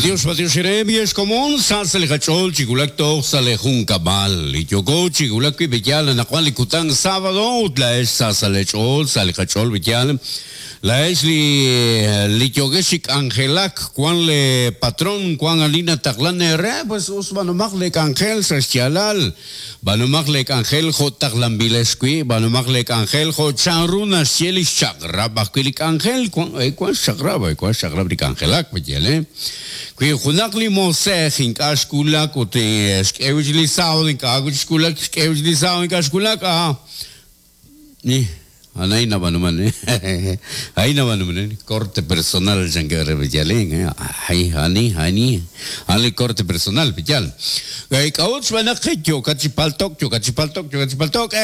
B'antiox, b'antiox eere, b'iex komon, sa sa' li qach'ool chi wulak toj sa' lee junkab'al. Li yooko chi wulak wi' b'eyal anaqwan li kutan sábado ut laa'ex sa sa' lee ch'ool, sa' li qach'ool b'eyal. Laa'ex li li yookex chi k'anjelak, wan lee patron, wan ani nataqlan eere, pues us b'aanumaq lee k'anjel sa' xyaalal. B'aanumaq lee k'anjel jo' taqlanb'ilex wi', b'aanumaq lee k'anjel jo' chanru naxye li xchaq'rab' ajwi' li k'anjel. Wan, wan xchaq'rab', wan xchaq'rab' li k'anjelak, pe'yaal, eh? Wi junaq li moosej ink'a' xwulak ut xk'e wi' chik li sábado, ink'a' wi' chik xwulak, xk'e wi' chik li sábado, ink'a' xwulak, ah, A'an a'in nab'aanuman, a'in nab'aanuman, corte personal chankeb' re pe'yaal, a'in, a'in, a'an li corte personal pe'yaal. K'a'ut xb'aan naq yookat chi palto'k, yookat chi palto'k, yookat chi palto'k,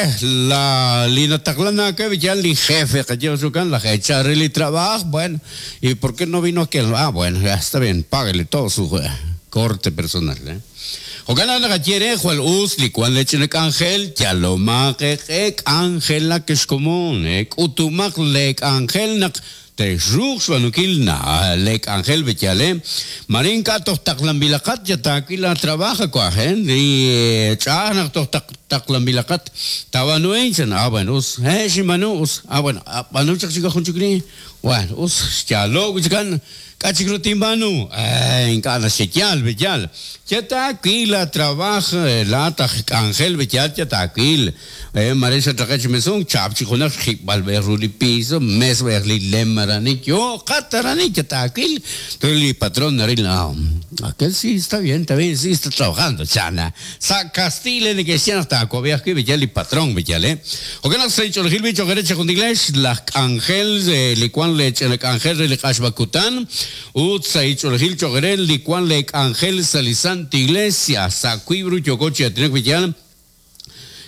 la li nataqlan aawe pe'yaal li jefe qayehaq jo'kan, laj eechal re li trab'aaj, bueno, y por qué no vino aquel, ah bueno, ya está bien, páguele todo su corte personal. Jo'kan naq naqaye re, jwal us li wank lee ch'ina k'anjel, yalomaq eeq'e k'anjelak ex komon, k'utumaq lee k'anjel naq texruuq xb'aanunkil lee k'anjel b'eyal, maare ink'a' toj taqlanb'ilaqat yal taawil laatrab'aaj a waj, li ch'a'aj naq toj taqlanb'ilaqat taab'aanu a'in, chan, ah bueno us, he xinb'aanu, us, ah bueno, b'aanu chaq chik jun chik li, bueno us, xyaalo'k wi' chikan. K'a' chik ru tinb'aanu? Ink'a' naxye yaal, b'eyal. Ye taawil laatrab'aaj, laa'at aj k'anjel, b'eyal, ye taawil. Maare xatraqe' chi mesunk, chaap chik junaq xjib'al b'ej ru li piso, mes b'ej li lem aranik, yooqat aranik, ye taawil. Entonces li patron naril, ah, aquel sí está bien, está bien, sí está trabajando, chan. Sa' Castile neke'xye naq taawab'i ajwi' b'eyal li patron, b'eyal, eh. Jo'kan naq sa' li ch'oolejil b'i cho'q eere chejunilex laj k'anjel li wan lee ch'ina k'anjel re li q'axb'a kutan, ut sa' li ch'oolejil cho'q eere li wan lee k'anjel sa' li Santa Iglesia, sa' wiib' ru yooko chi aatinak b'eyal.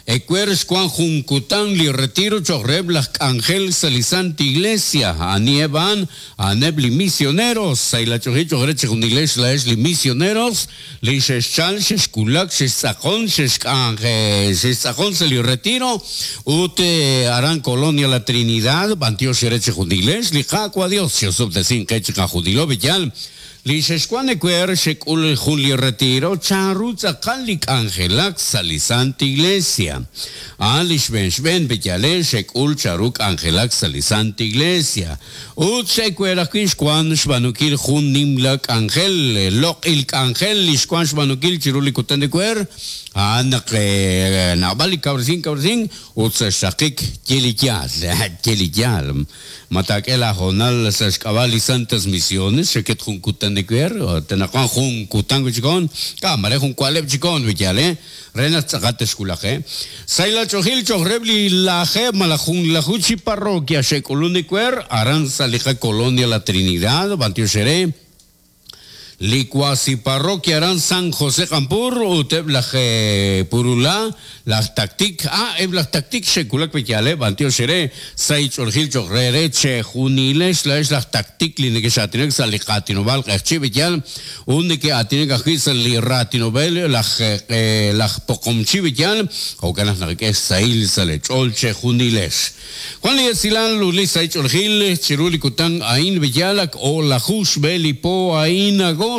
Ewer xwan jun kutan li retiro cho'q reheb' laj k'anjel sa' li Santa Iglesia. Aniheb' a'an? A'aneb' li misioneros. Sa' li ch'oolejil cho'q eere chejunilex laa'ex li misioneros, Li xexchal, xexwulak, xextz'aqon, xexk'anje, xextz'aqon sa' li retiro ut aran Colonia La Trinidad, b'antiox eere chejunilex, li Qaawa' Dios xe'osob'tesin qe chiqajunilo, b'eyal, li xexwan ewer xek'ul jun li retiro, chanru tz'aqal li k'anjelak sa' li Santa Iglesia. A'an li xb'een xb'een, b'eyal, xek'ul chanru k'anjelak sa' li Santa Iglesia. Ut xe'wer ajwi' xwank xb'aanunkil jun nimla k'anjel, loq'il k'anjel li xwank xb'aanunkil chiru li kutan ewer, a'an naq naab'al li kawresink kawresink ut sa' xraqik ye li yaal, ye li yaal. Ma taak'e laahoonal sa' xk'ab'a' li Santas Misiones xaket jun kutan ewer, ut anaqwan jun kutan wi' chik hoon, k'a, mare jun wa'leb' chik hoon wi yaal, Re naq tz'aqal texwulaq, e. Sahil ach'oolejil cho'q reheb' li lajeeb' malaj junlaju chi parroquia xe'k'ulun ewer aran sa' li qakolonia La Trinidad, b'antiox eere, li cuasi parroquia aran San José Q'anpur ut eb' laj Purulá, laj Tactic, a, eb' laj Tactic xe'wulak pe yaaleb', b'antiox eere, sahil ch'oolejil cho'q re eere chejunilex laa'ex laj Tactic li nekex'aatinak sa' li qaatinob'aal q'eqchi' b'eyal. Ut neke'aatinak ajwi' sa' li raatinob'el laj laj poqomchi b'eyal, jo'kan naq naqak'e xsahil sa' lee ch'ool chejunilex. Wan li esilal ut li sahil ch'oolejil chiru li kutan a'in b'eyal ak o'laju xb'e li po a'in agosto,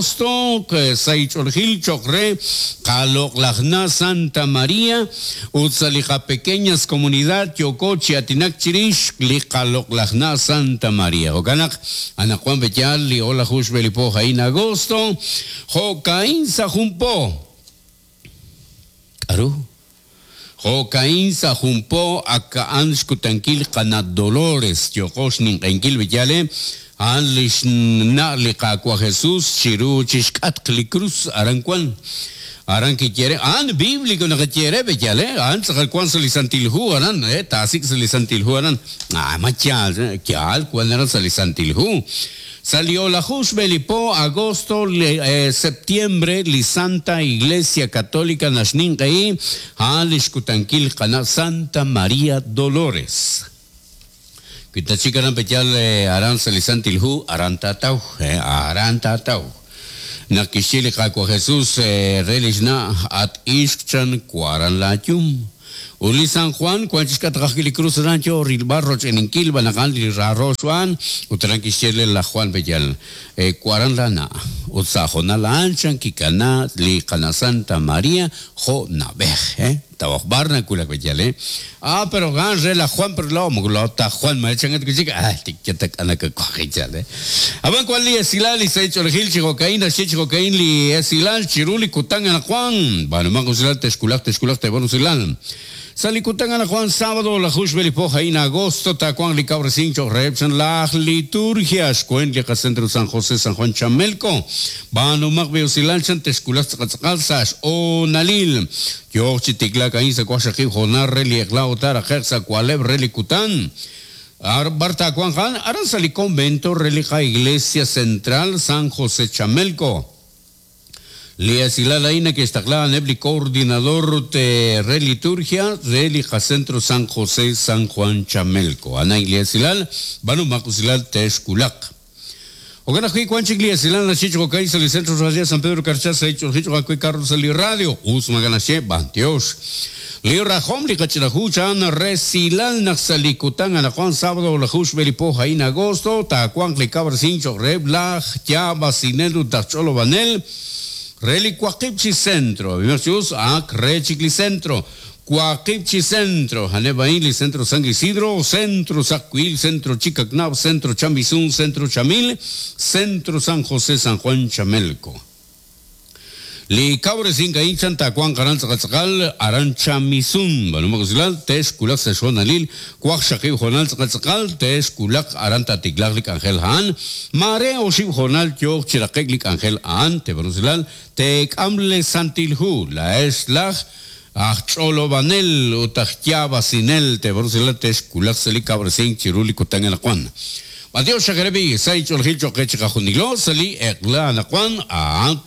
sahil ch'oolejil cho'q re qaloq'laj na' Santa Maria ut sa' li qapequeñas comunidad yooko chi aatinak chirix li qaloq'laj na' Santa Maria. Jo'kan naq Anaqwan pe'yaal li o'laju xb'e li po a'in agosto, jo'ka'in sa' jun po. K'aru? Jo'ka'in sa' jun po ak a'an xkutankil qana' Dolores, yooqo xninq'ehinkil pe'yaal e, a'an li xna' li Qaawa' Jesus chiru chi xk'atq li krus aran wan. Aran kiye re, A'an bíblico naqaye re, pe'yaal e, a'an tz'aqal wank sa' li Santil Hu aran, e, taasik' sa' li Santil Hu aran. Ah, ma yaal, yaal wank aran sa' li Santil Hu. Sa' li o'laju xb'e li po agosto, septiembre, li Santa Iglesia Católica naxninq'ehi a'an li xkutankil qana' Santa María Dolores. Wi tatxik aran pe'yaal aran sa' li Santil Hu, aran taataw, aran taataw. Naq kixye li Qaawa' Jesus re li xna', At ixq chan, waran laayum. Ut li San Juan wank chi xk'atq ajwi' li krus aran yo rilb'al roch'eninkil b'an naq a'an li raaro xb'aan, ut aran kixye re laj Juan pe'yaal, Waran laana'. Ut sa' hoonal a'an chan kikana li qana Santa María jo' na'b'ej, tawaj b'ar nawulak b'eyal, Ah, pero a'an re laj Juan, pero laa'o moko laa'o ta Juan, ma chankat wi' chik, ah, tik yatak'anakakwaji chal, Ab'an wan li esilal li sahil ch'oolejil chi jo'ka'in naxye chi jo'ka'in li esilal chiru li kutan anaqwan, b'aanumanq usilal texwulaq texwulaq teeb'an usilal. Sa' li kutan anaqwan sábado laju xb'e li po a'in agosto taawanq li kawresink cho'q reheb' chan laj liturgia xweent li qacentro San José San Juan Chamelco. B'aanumaq b'i usilal chan texwulaq tz'aqal tz'aqal sa' xhoonalil. Yooq chi tiklaak a'in sa' waqxaqib' hoonal re li eq'la ut taaraqe'q sa' wa'leb' re li kutan. B'ar taawanq a'an? Aran sa' li convento re li qa-Iglesia Central San José Chamelco. Li esilal a'in neke'xtaqla a'aneb' li Coordinador re Liturgia re li qaCentro San José San Juan Chamelco. A'an a'in li esilal, b'aanumaq usilal texwulaq. Jo'kan ajwi' wan chik li esilal naxye chi jo'ka'in sa' li Centro Radial San Pedro Carchá sa' Ich'olji cho'q ajwi' Carlos sa' li radio. Us maak'a' naxye, b'antiox. Li rajom li qach'ina hu chan resilal naq sa' li kutan anaqwan sábado laju xb'e li po a'in agosto taawanq li kawresink cho'q reheb' laj yaab'asinel ut aj ch'olob'anel re li waqib' chi centro. Ab'imaq chi us, ak re chik li centro. Waqib' chi centro. A'aneb' a'in li Centro San Isidro, Centro Saqwiil, Centro Chicacnab, Centro Chamisun, Centro Chamil, Centro San José San Juan Chamelco. Li kawresink a'in chan taawanq aran tz'aqal tz'aqal aran Chamisun. B'aanumaq usilal, texwulaq sa' xhoonalil waqxaqib' hoonal tz'aqal tz'aqal, texwulaq aran taatiklaaq li k'anjel a'an. Maare oxib' hoonal yooq chi raqe'k li k'anjel a'an, teeb'aanu usilal, teek'am le Santil Hu, laa'ex laj aj ch'olob'anel ut aj yaab'asinel, teeb'aanu usilal, texwulaq sa' li kawresink chiru li kutan anaqwan. B'antiox xaq eere b'i', sa' inch'oolejil cho'q qe chiqajunilo sa' li eq'la anaqwan, a'an.